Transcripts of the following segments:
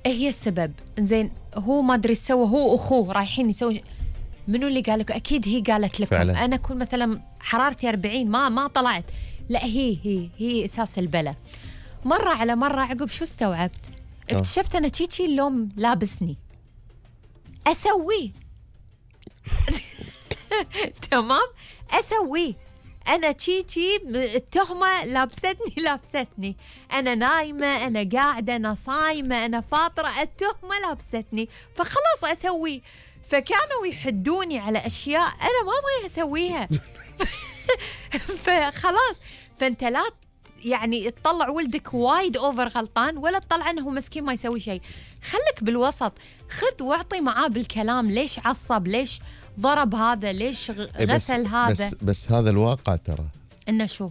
هي السبب. زين هو ما ادري سوى، هو واخوه رايحين يسوي. منو اللي قال لك؟ اكيد هي قالت لكم فعلا. انا اكون مثلا حرارتي 40 ما طلعت، لا هي اساس البلا. مره على مره عقب شو استوعبت؟ اكتشفت انا تشي اللوم لابسني اسويه. تمام اسويه انا تشي التهمه لابستني. انا نايمه، انا قاعده، انا صايمه، انا فاطره، التهمه لابستني، فخلاص اسويه. فكانوا يحدوني على اشياء انا ما ابغى اسويها. فخلاص، فانت لا يعني تطلع ولدك وايد اوفر غلطان، ولا تطلع انه مسكين ما يسوي شيء. خلك بالوسط، خذ واعطي معاه بالكلام. ليش عصب؟ ليش ضرب هذا؟ ليش غسل هذا؟ بس هذا الواقع ترى. انه شو؟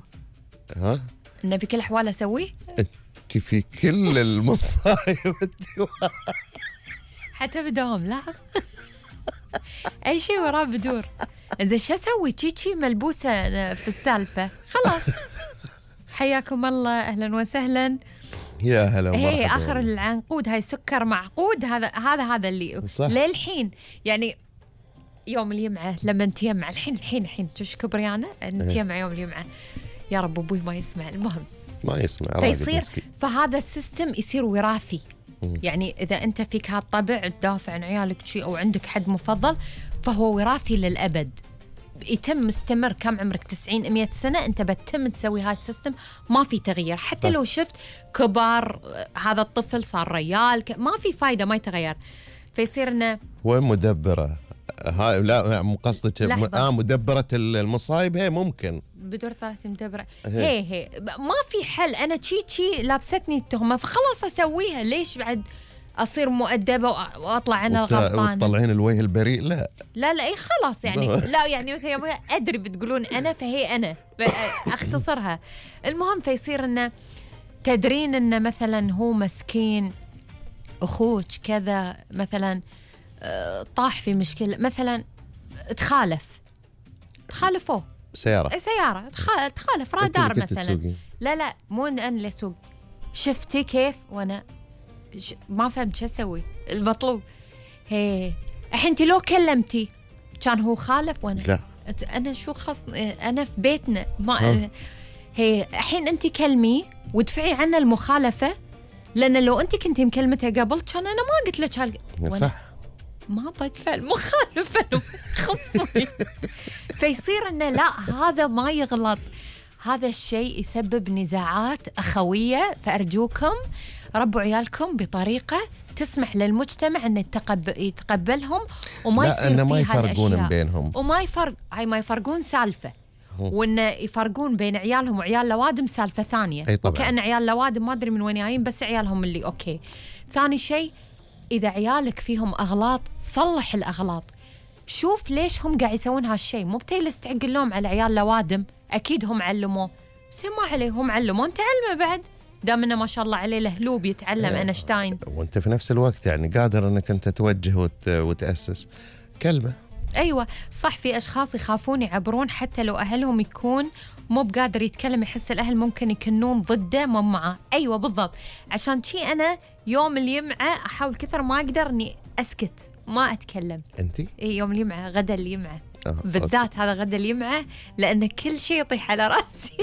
انه في كل الاحوال اسويه؟ انت في كل المصايب حتى بدوام لا. اي شيء وراه بدور. زين شو اسوي؟ تشي ملبوسه في السالفه، خلاص. حياكم الله، اهلا وسهلا. يا هلا ومرحبا. هي اخر العنقود، هاي سكر معقود. هذا اللي صح. للحين يعني يوم الجمعه لما نتيمع الحين شوش كبريانه نتيمع يوم الجمعه. يا رب ابوي ما يسمع. المهم ما يسمع، فيصير فهذا السيستم يصير وراثي. يعني اذا انت فيك هالطبع تدافع عن عيالك شيء او عندك حد مفضل، فهو وراثي للابد. يتم مستمر. كم عمرك؟ 90 100 سنه انت بتتم تسوي هاي السيستم، ما في تغيير. حتى لو شفت كبار هذا الطفل صار ريال، ما في فايده، ما يتغير. فيصير انه وين مدبره هاي؟ لا مو قصدك مدبره المصايب. هي ممكن بدور ثالث مدبره. هي ما في حل. انا تشي لابستني التهمه، فخلاص اسويها. ليش بعد اصير مؤدبه واطلع انا الغلطانه؟ وتطلعين الوجه البريء؟ لا اي خلاص يعني. لا يعني مثلا ادري بتقولون انا، فهي انا اختصرها. المهم فيصير انه تدرين انه مثلا هو مسكين اخوك كذا مثلا طاح في مشكله، مثلا تخالفوه سياره تخالف رادار مثلا. لا مو انا اللي اسوق. شفتي كيف؟ وانا ما فهمت شو اسوي. المطلوب هي الحين انت لو كلمتي كان هو خالف وانا لا. انا شو انا في بيتنا ما هي الحين انت كلمي وادفعي عنه المخالفه، لان لو انت كنتي مكلمتها قبل كان انا ما قلت لك صح. ما بدفع المخالفه خصني. فيصير انه لا هذا ما يغلط. هذا الشيء يسبب نزاعات اخويه. فارجوكم ربوا عيالكم بطريقه تسمح للمجتمع انه يتقبلهم وما يصير فيها ما يفرقون بينهم، ما يفرقون سالفه، وانه يفرقون بين عيالهم وعيال لوادم سالفه ثانيه. وكأن عيال لوادم ما ادري من وين جايين، بس عيالهم اللي اوكي. ثاني شيء، اذا عيالك فيهم اغلاط صلح الاغلاط. شوف ليش هم قاعد يسوون هالشيء. مو بتجلس تعق اللوم على عيال لوادم، اكيد هم علموه، بس ما عليه، هم علموه، انت علمه بعد دام انه ما شاء الله عليه لهلوب يتعلم اينشتاين. وانت في نفس الوقت يعني قادر انك انت توجه وتأسس كلمه. ايوه صح. في اشخاص يخافون يعبرون حتى لو اهلهم يكون مو بقادر يتكلم، يحس الاهل ممكن يكونون ضده مو معه. ايوه بالضبط. عشان شي انا يوم الجمعه احاول كثر ما اقدر اني اسكت ما اتكلم. انتي؟ اي يوم الجمعه، غدا الجمعه بالذات. هذا غدا الجمعه لان كل شيء يطيح على راسي.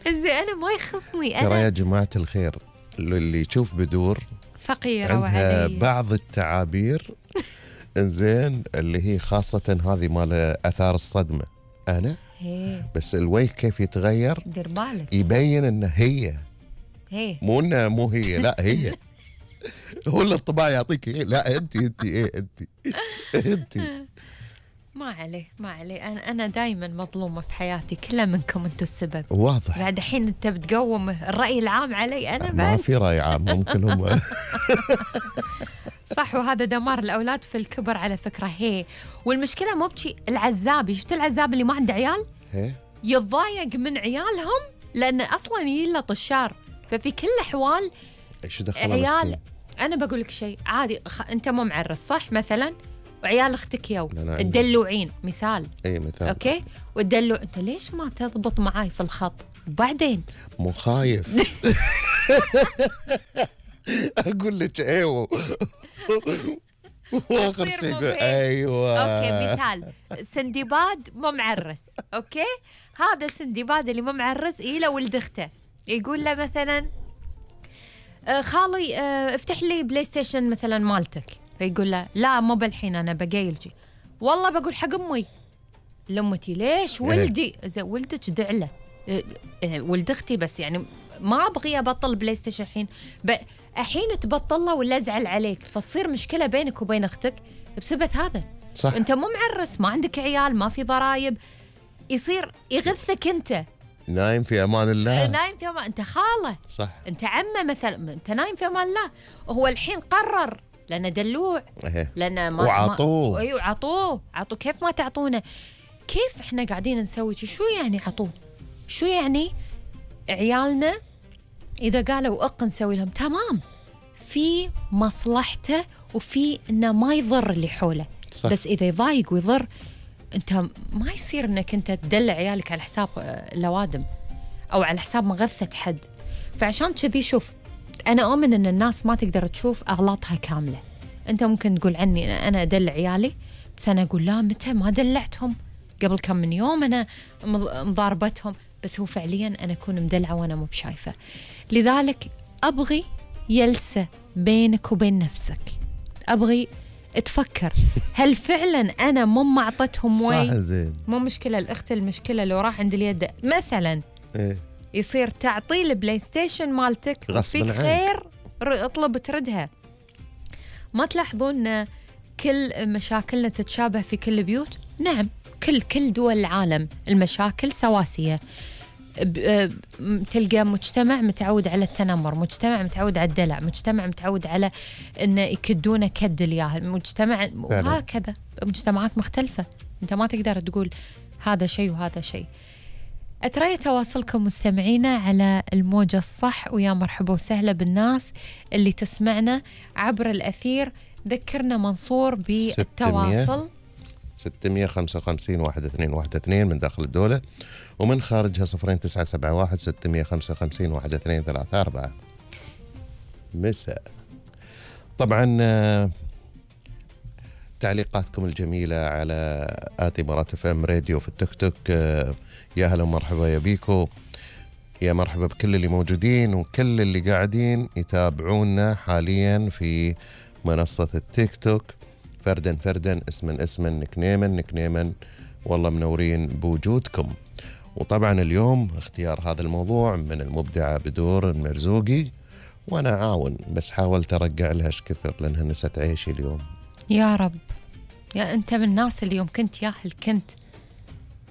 زين انا ما يخصني. انا ترى يا جماعه الخير اللي يشوف بدور فقيره عندها بعض التعابير انزين اللي هي خاصه هذه مال اثار الصدمه. انا بس الوجه كيف يتغير، دير بالك، يبين انه هي مو انها مو هي، لا هي. هو اللي الطباع يعطيك لا انت ما عليه. انا دائما مظلومه في حياتي، كلها منكم انتم السبب. واضح. بعد الحين انت بتقوم الراي العام علي انا. ما في راي عام، ممكن هم. صح. وهذا دمار الاولاد في الكبر على فكره. والمشكله مو بشي العزابي. شفت العزاب اللي ما عنده عيال يتضايق من عيالهم لان اصلا يلا طشار. ففي كل الاحوال ايش دخل عيال مسكين. انا بقول لك شيء عادي. انت مو معرس صح مثلا، وعيال اختك يو تدلوعين مثال. اي مثال. اوكي. وتدلع انت ليش ما تضبط معاي في الخط؟ وبعدين مو خايف. اقول لك ايوه. واخر شيء ايوه. اوكي مثال سندباد مو معرس، اوكي هذا سندباد اللي مو معرس له ولد اخته يقول له مثلا خالي افتح لي بلاي ستيشن مثلا مالتك، فيقول له لا مو بالحين انا بقايلجي، والله بقول حق امي. لامتي ليش ولدي؟ زين ولدك دعله ولد اختي، بس يعني ما ابغي ابطل بلاي ستيشن الحين، الحين تبطله ولا ازعل عليك، فتصير مشكله بينك وبين اختك بسبب هذا. صح. انت مو معرس، ما عندك عيال، ما في ضرايب، يصير يغثك انت نايم في امان الله. نايم في امان، انت خاله صح، انت عمه مثلا، انت نايم في امان الله. وهو الحين قرر لانه دلوع، لانه ما وعطوه. ايوه عطوه كيف ما تعطونه؟ كيف احنا قاعدين نسوي شو يعني عطوه؟ شو يعني عيالنا اذا قالوا نسوي لهم تمام، في مصلحته وفي انه ما يضر اللي حوله. صح. بس اذا يضايق ويضر انت ما يصير انك انت تدلع عيالك على حساب لوادم او على حساب مغثة حد. فعشان كذي شوف، انا اؤمن ان الناس ما تقدر تشوف اغلاطها كامله. انت ممكن تقول عني انا ادلع عيالي، بس انا اقول لا متى ما دلعتهم، قبل كم من يوم انا مضاربتهم، بس هو فعليا انا اكون مدلعه وانا مو بشايفه. لذلك ابغي جلسه بينك وبين نفسك، ابغي تفكر هل فعلا انا مو معطتهم وي؟ صح زين. مو مشكله الاخت، المشكله لو راح عند اليد مثلا يصير تعطي البلاي ستيشن مالتك فيك خير اطلب تردها. ما تلاحظون كل مشاكلنا تتشابه في كل البيوت؟ نعم، كل دول العالم المشاكل سواسية. تلقى مجتمع متعود على التنمر، مجتمع متعود على الدلع، مجتمع متعود على إنه يكدونه كد الياهل، مجتمع وهكذا مجتمعات مختلفة. أنت ما تقدر تقول هذا شيء وهذا شيء. أترى تواصلكم مستمعينا على الموجة الصح، ويا مرحبا وسهلا بالناس اللي تسمعنا عبر الأثير. ذكرنا منصور بالتواصل 655 1212 من داخل الدولة، ومن خارجها 0971 655 1234. مساء. طبعا تعليقاتكم الجميلة على آتي FM راديو في التيك توك، يا هلا ومرحبا يا بيكو، يا مرحبا بكل اللي موجودين وكل اللي قاعدين يتابعونا حاليا في منصة التيك توك، فردا اسما نكنيما، والله منورين بوجودكم. وطبعا اليوم اختيار هذا الموضوع من المبدعة بدور المرزوقي، وانا عاون بس حاولت ارجع لها كثر لانها نست عيشي اليوم. يا رب، يا انت من الناس اللي يوم كنت ياهل كنت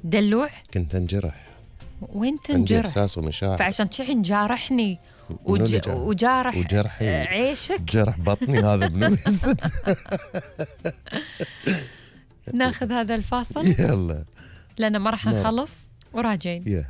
دلوع، كنت انجرح. وين تنجرح؟ عندي احساس ومشاعر، فعشان شي نجارحني وجارح عيشك، جرح بطني هذا بنفس. ناخذ هذا الفاصل يلا لأن ما راح نخلص وراجعين.